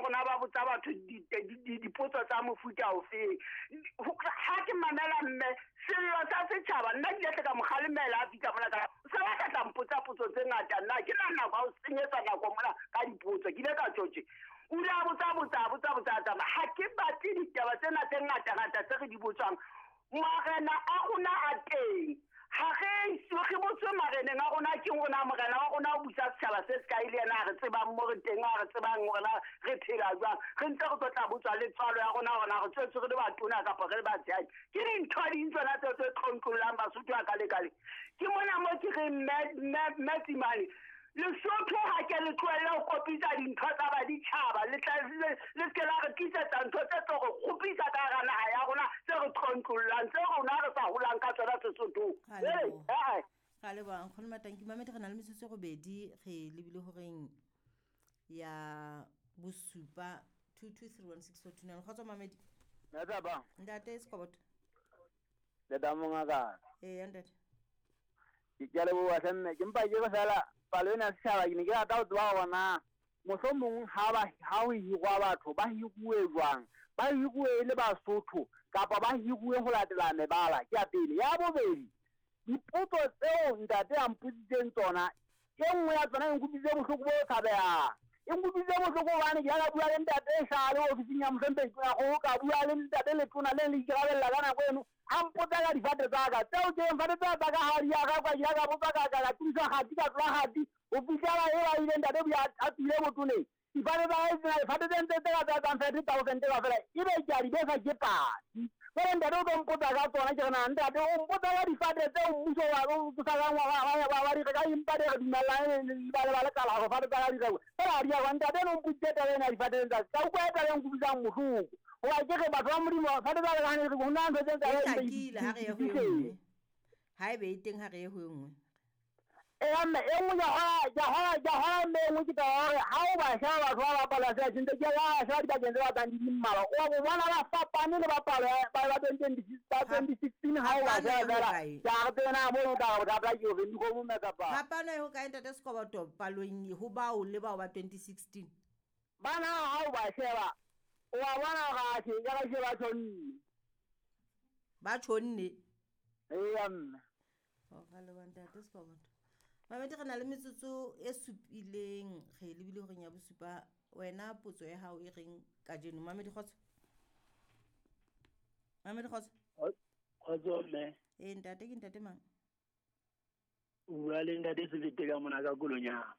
tsebang rona ba botsa batho dipotso tsa mofuta ofeng. Ha ke mamela mme sello sa setjhaba, nna ke ile ka mo kgalemela a fihla mona ka se ba ka tla mpotsa potso tse ngata, nna ke na nako ya ho senyetsa nako mona ka dipotso. Ke ile ka tjho tje, o ile a botsa botsa botsa botsa tsamaya. Ha ke batle ditaba tsena tse ngata ngata tse re di botswang. Marena a rona a teng, ha re so re botswe mareneng a rona ke rona morena wa rona o busa setjhaba se se kae le yena a re tsebang mo re teng, a re tsebang hore na re phela jwang. Re ntse re tlo tla botswa le tswalo ya rona hore na re tswetse re le batona kapa re le batshehadi. Ke dintho ding tsona tseo tse tlontlollang Basotho a ka lekale. Ke mona mo ke reng mme Tsimane, Lesotho ha ke le tlohelle ho kopitsa dintho tsa baditjhaba, le tla le se ke la re tlisetsa ntho tse tlo re kgopisa ka hara naha ya rona, tse re tlontlollang, tse rona re sa holang ka tsona Sesothong. Ra Ee, leboha. ee. Ra leboha nkgono Matanki. Mamedi, re na le metsotso e robedi, re lebile horeng ya bosupa. 22316429. Kgotso Mamedi. Ntate. Ntate Sekoboto. Le mongaka. Ee, ntate. Ke a leboha hle mme, ke mpa ke re fela palo ena ya setjhaba ke ne ke rata ho tseba hore na mohlomong ha ba ha ho hirwa batho ba hiruwe jwang, ba hiruwe e le Basotho kapa ba hiruwe ho latela mebala. Ke ya pele. Ya bobedi, dipotso tseo ntate a mpotsitseng tsona, e nngwe ya tsona e nkutlwisitse bohloko bo tshabehang. E nkutlwisitse bohloko hobane ke ya ka bua le ntate Shale ofising ya mohlomphehi Tonakgolo, ka bua le ntate Letona le le ikarabella ka nako eno, a mpotsa ka difate tsa ka tseo ke reng fate tseo tsa ka ha di a rekwa. Ke ile ka botsa ka tiiswa kgati, ka tlola kgati ho fihlela e ba ile ntate o a tswile botoneng. Difate tsa hae tsena, difate tse ntse tse ka tsa etsang 30,000 kaofela, ebe ke a di besa ke patsi. Jwale ntate o tlo mpotsa ka tsona, ke re na ntate o mpotsa ka difate tseo mmuso wa o sa kang wa di reka, empa di re dumellane le ba lekala hore fate tsa ka di rekwe, fela ha di a rekwa. Ntate eno o mpotsitse taba ena ya difate tsa ka utlwa e taba e nkutlwisang bohloko. Hoba ke re batho ba Modimo, fate tsa ka ha ne di rekwe, ho na ntho tse E tsa hlakile, ha re ye ho e nngwe. Ha ebe e teng, ha re ye ho e nngwe. Eya mme, e nngwe ke a kgola mme e nngwe ke taba ya hore ha o ba sheba batho ba bapala se ntse ke ba sheba dibakeng tse batlang di le mmalwa, o bo bona ba fapane le ba palo ya ba 2026 ba 2016 ha o ba Phapano sheba e fela. hokae? Ke a re tsena mono ka re bothata ke hore dikgomo mme kapa Phapano e hokae ntate Sekoboto palong ho bao le bao ba 2016? Bana ha o ba sheba, o wa bona hore atjhe ka ba ba tjhonne. Ba tjhonne. Eya mme. Oh, ra leboha ntate Sekoboto. Mamedi, re na le metsotso e supileng, re lebile horeng ya bosupa. Wena potso ya hao e reng kajeno? Mamedi, kgotso. Mamedi, kgotso. Kgotso mme. Ee ntate, ke ntate mang? O bua le ntate Selete ka mona ka Kolonyana.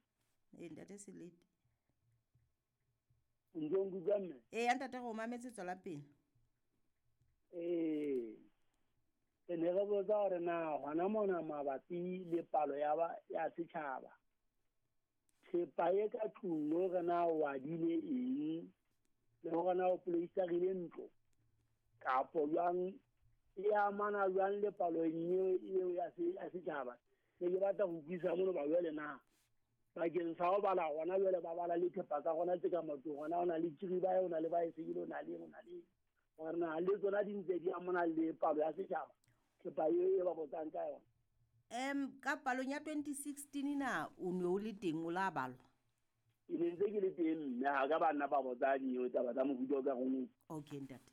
Ee ntate Selete. O ntso nkutlwa mme? Ee ntate, re o mametse, tswela pele. Ee. Re ne re botsa hore na hona mona mabapi le palo ya ba ya setjhaba, thepa e ka tlung le hore na o adile eng, le hore na o poloisarile ntlo kapo jwang, e amana jwang le palo eo ya setjhaba. Ne ke batla ho utlwisisa mono ba jwale na bakeng sa ho bala hona jwale ba bala le thepa tsa rona tse ka matlong, hona ho na le kiribae, ho na le baesekele, ho na le eng, ho na le eng, hore na le tsona di ntse di amana le palo ya setjhaba, thepa eo e ba botsang ka yona. Ka palong ya 2016 na o ne o le teng, o la balwa? Ke ne ntse ke le teng mme, ha ka ba nna ba botsa dinyewe taba tsa mofuta o ka reng. Okay ntate.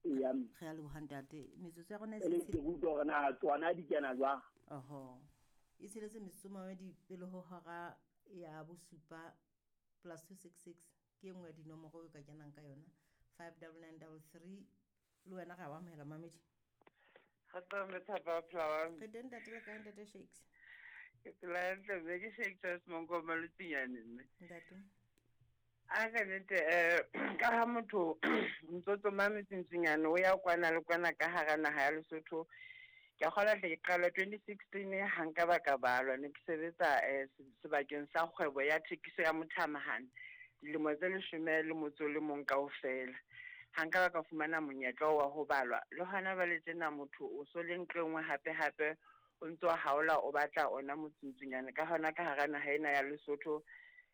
Eya mme. Re a leboha ntate. Metsotso ya rona e E le se ke utlwa hore na tsona di kena jwang. Oho. E tsheletse metsotso mamedi pele ho hora ya bosupa. +266 ke e nngwe ya dinomoro o ka kenang ka yona. 59933 le wena re a o amohela mamedi. Kgotso mme Thapa, phela wa Re teng ntate, le kae ntate Shakes? Ke phela hantle mme, ke Shakes wa Semonkoma Lotsinyane mme. Ntate. A ka nnete ka ha motho ntso tsoma metsintsinyane o ya kwana le kwana ka hara naha ya Lesotho. Ke a kgolwa hle ke qala 2016 ha nka ba ka balwa, ne ke sebetsa sebakeng sa kgwebo ya thekiso ya mothamahane dilemo tse 11 kaofela. Ha nka ba ka fumana monyetla wa ho balwa, le hona jwale tjena motho o so le nqe nngwe hape hape o ntso haola o batla ona motsuntsunyane ka hona ka hara naha ena ya Lesotho.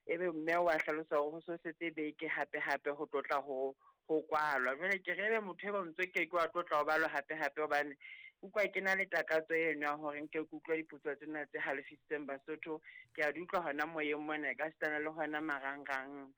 Ebe mme wa hlalosa hore ho so setse beke hape hape ho tlotla ho kwalwa. Jwale ke re ebe motho e ba ntso ke ke wa tlotla ho balwa hape hape, hobane utlwa ke na le takatso eno ya hore nke ke utlwa dipotso tsena tse halefisitseng Basotho. Ke a di utlwa hona moyeng mona, e ka sitana le hona marangrang.